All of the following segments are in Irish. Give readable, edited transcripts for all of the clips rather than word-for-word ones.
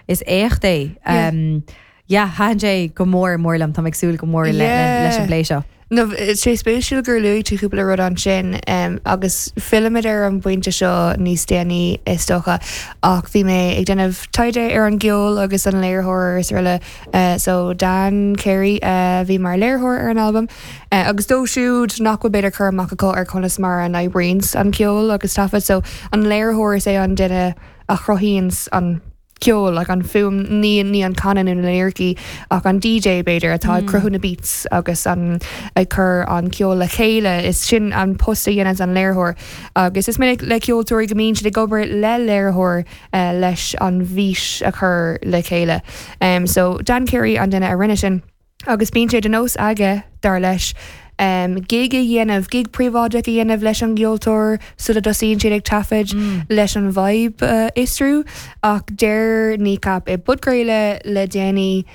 Is éacht é. Yeah, thaitin sé go mór mór liom, táim ag súil go mór leis an bplé seo. No, tá sé spéisiúil gur luaigh tú cúpla rud ansin agus fillfimid ar an bpointe seo níos déanaí is dócha ach bhí mé ag déanamh taighde ar an gceol agus an léiritheoir is araile so Dan Carey a bhí mar léiritheoir ar an albam agus dóibh siúd nach bhfuil b'fhéidir cur amach acu ar conas mar a n-oibríonns an ceol agus taifead so an léiritheoir is é an duine a chruthaíonns an ceol, like an fuaim, ní ní an canadh nó na liricí ach an DJ b'fhéidir atá ag cruthú na beats agus an ag cur an ceol le chéile, is sin an post a dhéananns an léiritheoir. Agus is minic le ceoltóirí go mbíonn siad ag obair le léiritheoir leis an bhfís a chur le chéile. So Dan Carey an duine a rinne sin. Agus bíonn sé de nós aige, dar leis, gig a dhéanamh, gig príobháideach a dhéanamh leis an gceoltóir sula dtosaíonn siad ag taifead leis an vibe a fhiosrú. Ach deir Kneecap i bpodchraoladh le déanaí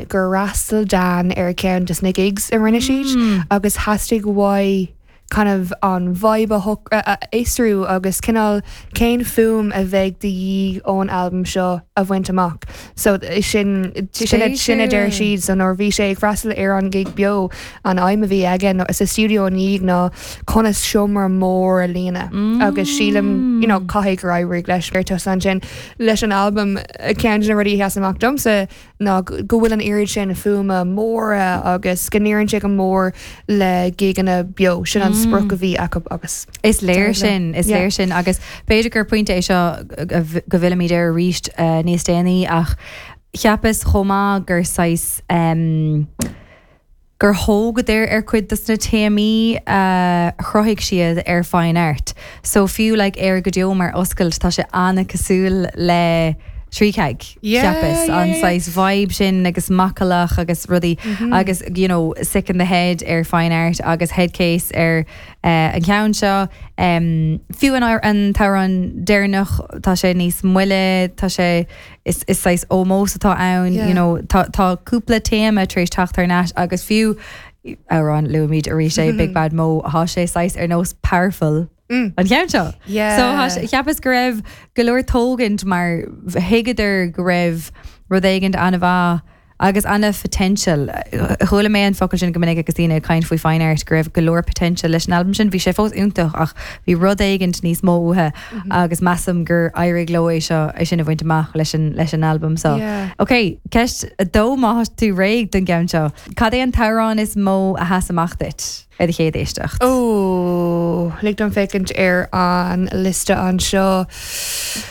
gur fhreastail Dan ar cheann de na gigs a rinne siad agus theastaigh uaidh kind of an vibe a fhiosrú agus cineál cén fuaim a bheidh de dhíth ón albam seo a bhaint amach. So sin sin sin a deir siad so nuair bhí sé ag freastal ar an gig beo an aidhm a bhí aige nó sa stiúideo ina dhiaidh ná conas seomra mór a líonadh agus sílim you know caithfidh gur éirigh leis ar tusa ansin leis an albam ceann de na rudaí a sheas amach domsa ná go bhfuil an oiread sin fuaime móra agus go n-oireann sé go mór le gigeanna beo. Sin an sprioc a bhí acu agus. Is léir sin, is léir sin agus b'fhéidir gur pointe é seo go bhfillfimid air arís níos déanaí ach cheapas chomh maith gur saghas gur thógadar ar chuid dos na téamaí a chruthaigh siad ar Fine Art. So fiú like Éire go Deo mar oscailt tá sé an-cosúil le Trícheag, cheapas, an saghas vibe sin agus macallach agus rudaí agus you know Sick in the Head ar Fine Art agus Headcase ar an cheann seo. Fiú an t-amhrán deireanach tá sé níos moille, tá sé Is saghas ómós atá ann, you know, tá tá cúpla téama tar éis teacht thar n-ais agus fiú amhrán luaimid arís é Big Bad Mo, thá sé saghas ar nós powerful an cheann seo. So thá sé, cheapas go raibh go leor tógaint mar thuigeadar go raibh rud éigint an-mhaith Agus ana-photential. Chuala mé an focal sin go minic agus daoine ag caint faoi Fine Art, go raibh go leor potential leis an albam sin. Bhí sé fós iontach ach bhí rud éigint níos mó uathu agus measaim gur éirigh leo é seo, é sin a bhaint amach leis an, leis an albam seo. Ok, ceist a dó má thá tú réidh don gceann seo. Cad é an t-amhrán is mó a sheas amach duit ar do chéad éisteacht? Ó, lig dom féachaint ar an liosta anseo.